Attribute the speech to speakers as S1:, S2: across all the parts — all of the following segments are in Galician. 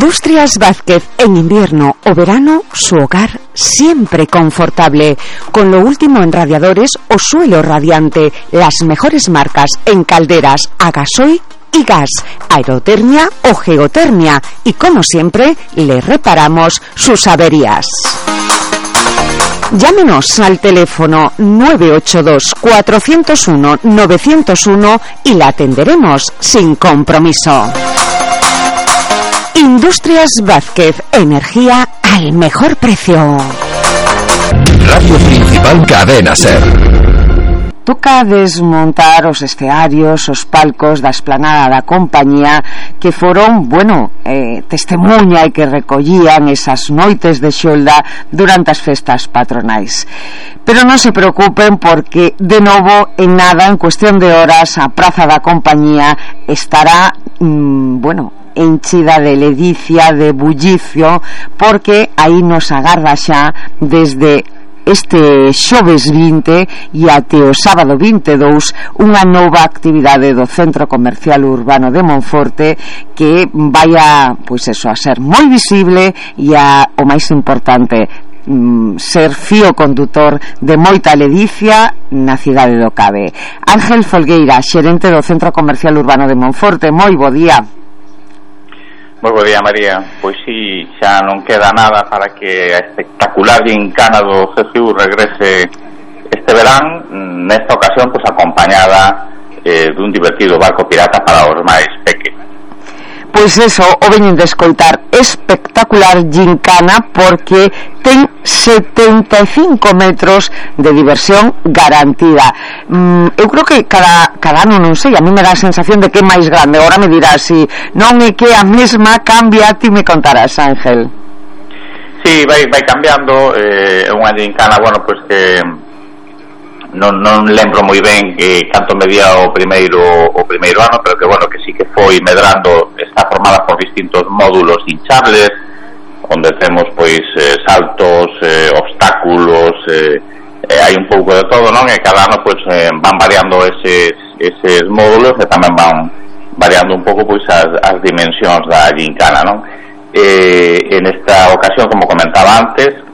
S1: Industrias Vázquez, en invierno o verano, su hogar siempre confortable, con lo último en radiadores o suelo radiante, las mejores marcas en calderas a gasoil y gas, aerotermia o geotermia, y como siempre, le reparamos sus averías. Llámenos al teléfono 982-401-901 y la atenderemos sin compromiso. Industrias Vázquez, energía al mejor precio.
S2: Radio Principal Cadena Ser.
S1: Toca desmontar os escearios, os palcos da esplanada da compañía que foron, testemunha e que recollían esas noites de xolda durante as festas patronais. Pero non se preocupen porque, de novo, en nada, en cuestión de horas, a praza da compañía estará, enchida de ledicia, de bullicio, porque aí nos agarda xa desde este xoves 20 e até o sábado 22 unha nova actividade do Centro Comercial Urbano de Monforte que vai a ser moi visible e o máis importante, ser fío condutor de moita ledicia na cidade do Cabe. Ángel Folgueira, xerente do Centro Comercial Urbano de Monforte, moi bo día.
S3: Moi bo día, María. Pois sí, xa non queda nada para que a espectacular gincana do CCU regrese este verán, nesta ocasión acompañada dun divertido barco pirata para os máis pequenos.
S1: Pois eso, o veñen de escoitar, espectacular gincana, porque ten 75 metros de diversión garantida. Eu creo que cada ano, non sei, a mí me dá a sensación de que é máis grande. Ahora me dirás, si non é que a mesma cambia, ti me contarás, Ángel.
S3: Sí, vai cambiando, é unha gincana, que non lembro moi ben canto medía o primeiro ano, pero que sí que foi medrando. Está formada por distintos módulos hinchables, onde temos saltos, obstáculos, hai un pouco de todo, non? E cada ano van variando eses módulos e tamén van variando un pouco as dimensións da gincana, non? En esta ocasión, como comentaba antes,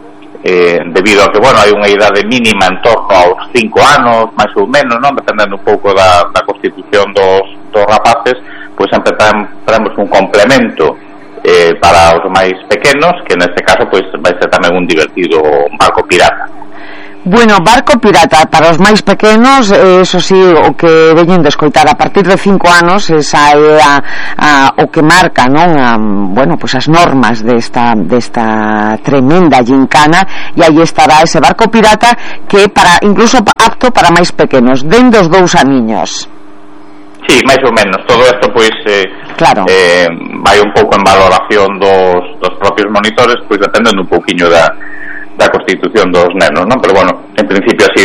S3: debido a que, hai unha idade mínima en torno aos 5 anos, máis ou menos, non? Dependendo un pouco da constitución dos rapaces, empezamos un complemento para os máis pequenos, que neste caso vai ser tamén un divertido barco pirata.
S1: Barco pirata para os máis pequenos, eso sí, o que veñen de escoitar, a partir de 5 anos, esa é o que marca, non? As normas desta tremenda gincana, e aí estará ese barco pirata que é incluso apto para máis pequenos, dende os 2 aniños.
S3: Sí, máis ou menos. Todo isto
S1: claro,
S3: vai un pouco en valoración dos propios monitores, dependendo un pouquiño da constitución dos nenos, non? Pero en principio así,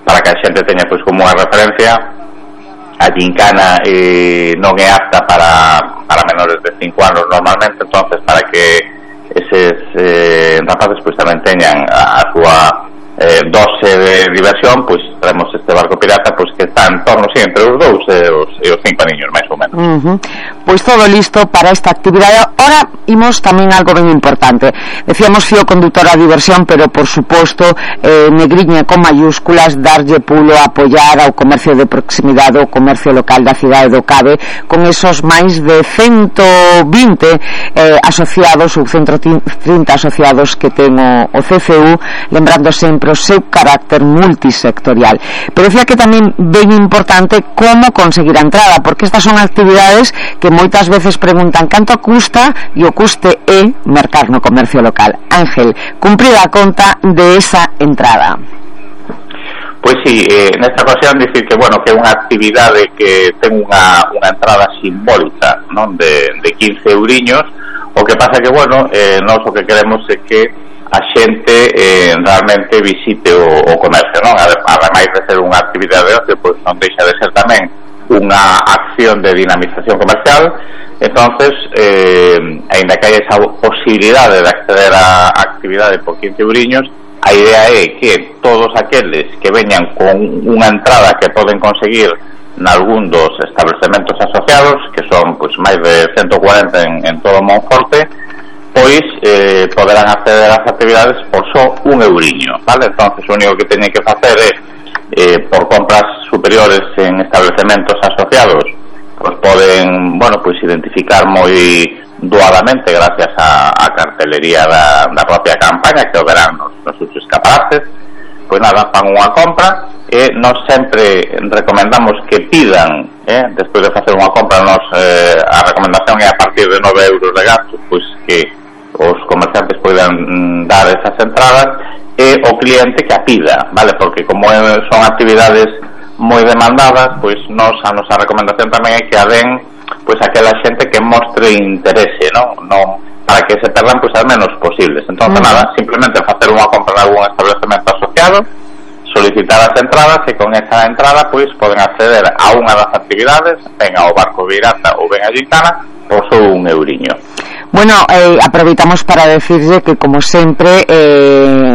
S3: para que a xente teña como unha referencia, a gincana non é apta para menores de 5 anos normalmente. Entonces, para que eses rapaces tamén teñan a súa dose de diversión, traemos este barco pirata que está en torno, entre os 2 e os 5 niños, máis ou menos.
S1: Todo listo para esta actividade. Ahora imos tamén algo ben importante. Decíamos fío conductor a diversión, pero por suposto, negriña con mayúsculas, darlle pulo, apoiar ao comercio de proximidade, o comercio local da cidade do Cabe, con esos máis de 120 asociados, ou 130 asociados que ten o CCU, lembrando sempre o seu carácter multisectorial. Pero decía que tamén ben importante como conseguir a entrada, porque estas son actividades que moitas veces preguntan canto custa, e o custe é mercar no comercio local. Ángel, cumprir a conta de esa entrada.
S3: Pois sí, nesta ocasión dicir que, que é unha actividade que ten unha entrada simbólica, non? De 15 euriños. O que pasa que, nós o que queremos é que a xente realmente visite o comercio, non? Ademais de ser unha actividade de ocio, non deixa de ser tamén unha acción de dinamización comercial. Entonces, aínda que hai esa posibilidade de acceder á actividade por 15 euriños, a idea é que todos aqueles que veñan con unha entrada que poden conseguir nalgún dos establecementos asociados, que son pois máis de 140 en todo Monforte, pois poderán acceder ás actividades por só un euriño, vale? Entonces o único que teñen que facer é por compras superiores en establecementos asociados, pois poden, bueno, pois identificar moi doadamente gracias a cartelería da propia campaña que o verán nos seus escaparates. Pois nada, fan unha compra e nós sempre recomendamos que pidan, despois de facer unha compra, a recomendación é a partir de 9 euros de gastos, pois que os comerciantes poidan dar esas entradas e o cliente que a pida, vale? Porque como son actividades moi demandadas, pois a nosa recomendación tamén é que a den pois aquela xente que mostre interese, non para que se perdan pois as menos posibles. Entonces nada, simplemente facer unha compra en algún establecemento asociado, solicitar as entradas e con esa entrada pois poden acceder a unha das actividades, ben ao Barco Virata ou ben a Gincana, por só un euriño.
S1: Bueno, aproveitamos para decirle que, como sempre,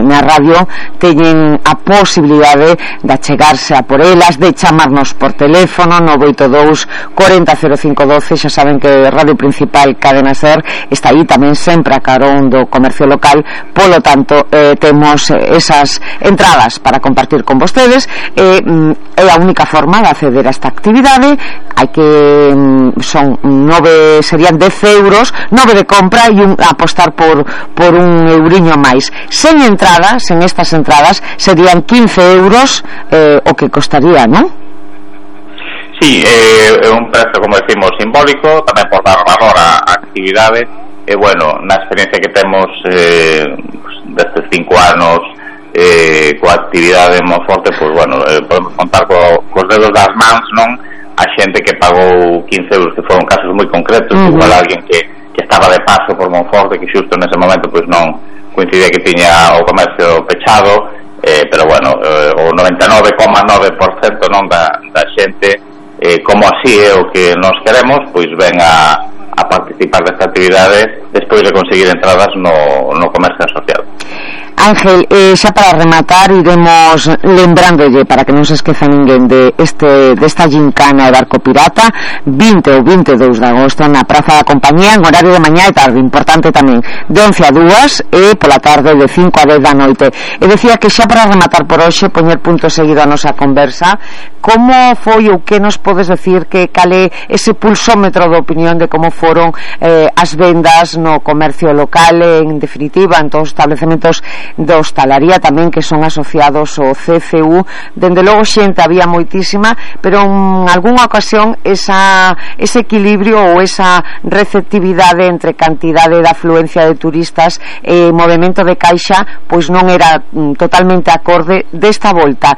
S1: na radio teñen a posibilidade de achegarse a por elas, de chamarnos por teléfono 982 40 0512. Xa saben que Radio Principal Cadena Ser está aí tamén sempre a carón do comercio local, polo tanto temos esas entradas para compartir con vostedes. É a única forma de acceder a esta actividade. Hai que serían 10 euros, 9 de compra e apostar por un euriño máis. Sen estas entradas serían 15 euros o que costaría, non?
S3: Sí, é un prezo, como decimos, simbólico, tamén por dar valor á actividade. E bueno, na experiencia que temos desde 5 anos coa actividade en Monforte, pois bueno, podemos contar cos dedos das mans, non? A xente que pagou 15 euros, que foron casos moi concretos, igual alguén que estaba de paso por Monforte, que xusto nese momento pois non coincidía que tiña o comercio pechado, pero bueno, o 99,9% non da xente, como así é o que nos queremos, pois ven a participar desta actividade despois de conseguir entradas no comercio asociado.
S1: Ángel, xa para rematar iremos lembrándolle, para que non se esqueza ninguén, desta gincana de Barco Pirata, 20 ou 22 de agosto na Praza da Compañía, en horario de mañá e tarde, importante tamén, de 11 a 2 e pola tarde de 5 a 10 da noite. E decía que xa para rematar por hoxe, poñer punto seguido a nosa conversa, como foi ou que nos podes decir que cale ese pulsómetro de opinión de como foron as vendas no comercio local, en definitiva, en todos os estabelecementos da hostalaría tamén que son asociados ao CCU. Dende logo xente había moitísima, pero en algunha ocasión ese equilibrio ou esa receptividade entre cantidade de afluencia de turistas e movimento de caixa pois non era totalmente acorde. Desta volta